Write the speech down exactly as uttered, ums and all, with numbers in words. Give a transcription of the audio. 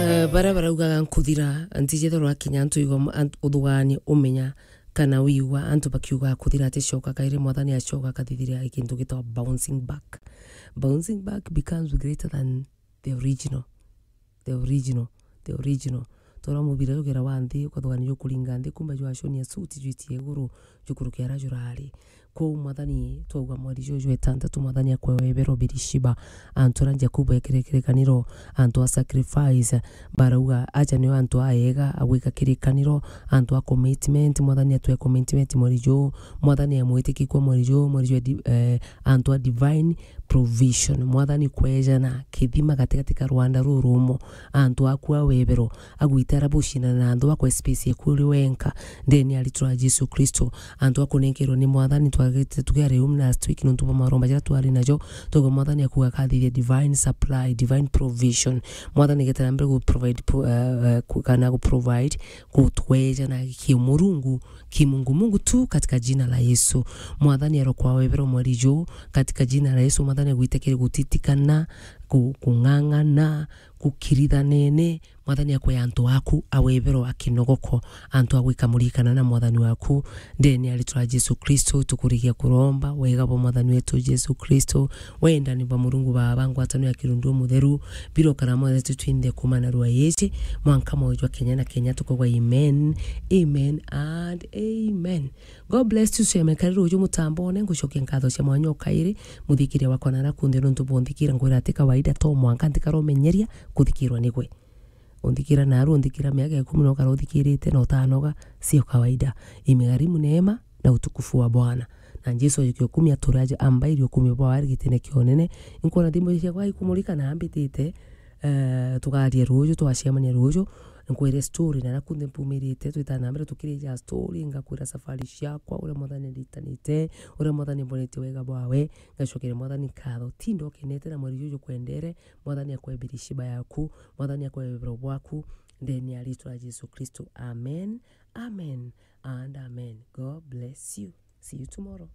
Eh, baria baraugaga nkuthira, ntijethirwa kinya antu igwa ma-, ant-, uthuganie umenya kana wigua antu bakiuga kuthira aticoka kairi, Mwathani acoka akathithiria kintu gitagwa bouncing back. Bouncing back becomes greater than the original. The original. The original. Tora mubira jugera wa nthi, ukathugania jukuringa nthi, kumbe jwaconia suti jwitie iguru, jukurukia ara jurari. Kwou Mwathani, twauga mweri juju jwa itantatu, Mwathani akwe webero Birishiba, antu aria Jakubu ekire kirikaniro, antu a sacrifice, barauga, aja nio antu aega a gwika kirikaniro, antu a commitment, Mwathani atwe commitment mweri juu, Mwathani amwitikikwa mweri juu, mweri juu di-, eh, antu a divine provision. Mwathani kwejana kithima gatigati ka rwanda rurumo, antu aku a webero, agwitara bucindana na antu bakwe space eku uri wenka, ndeni ya ritwa ria Jesu Kristo. Antu akunenkerwe ni Mwathani twagite tukiari um last week nontu bwa maromba jaria twari najo, togo Mwathani akuga kathithia divine supply, divine provision. Mwathani getera mbere gu provide pro-, eh, eh, ku-, kana gu provide gutweja na kimurungu, kimungumungu tu katika jina la Yesu. Mwathani arokwa webero mweri juu katika jina la Yesu. Mwathani agwitekere gutitikana, ku-, kung'ang'ana, kukirithanene, Mwathani akwe antu aku awebero akinogoko, antu agwika murikana na Mwathani waku, ndeni ya ritwa ria Jesu Kristo, tukurigia kuromba, wega bwa Mwathani wetu Jesu Kristo, wendani bwa Murungu Baba, ngwatano ya kirundu mutheru, birokara mweretu twinthe kumana rwa iji, mwanka mwoyo jwa Kenya na Kenya tukogwa amen, amen and amen. God bless you, Sheme, kari ruju mutambone, ngucokia nkatho cia mwanya o kairi, muthikiria wakwa nara kunthe nontu bwonthikira ngwira ati kawaida to mwanka ntikara umenyeria kuthikirwa nigwe. Unthikira naru, unthikira miaka ikumi na ukara uthikirite na utanoga, sio kawaida. Imegharimu neema na utukufu wa Bwana. Na Jesu ajukia ukumi ature aje ambairi ukumi bwa wari gitine kia unene. Inkwona thimu ciakwa ikumurika na ambitite, eh, tugarie ruju, twacemania ruju. Nkwire story na naku nthe mpumirite, twitana na mbere tukirija story, ngakwira safari ciakwa, uria Mwathani nditanite, uria Mwathani mbonetie wega bwawe, ngacokere Mwathani nkatho. Tinda ukenete na mweri juju kwendere, Mwathani akwe Birishiba yaku, Mwathani akwe webero bwaku, ndeni ya ritwa ria Jesu Kristo. Amen, amen, and amen. God bless you. See you tomorrow.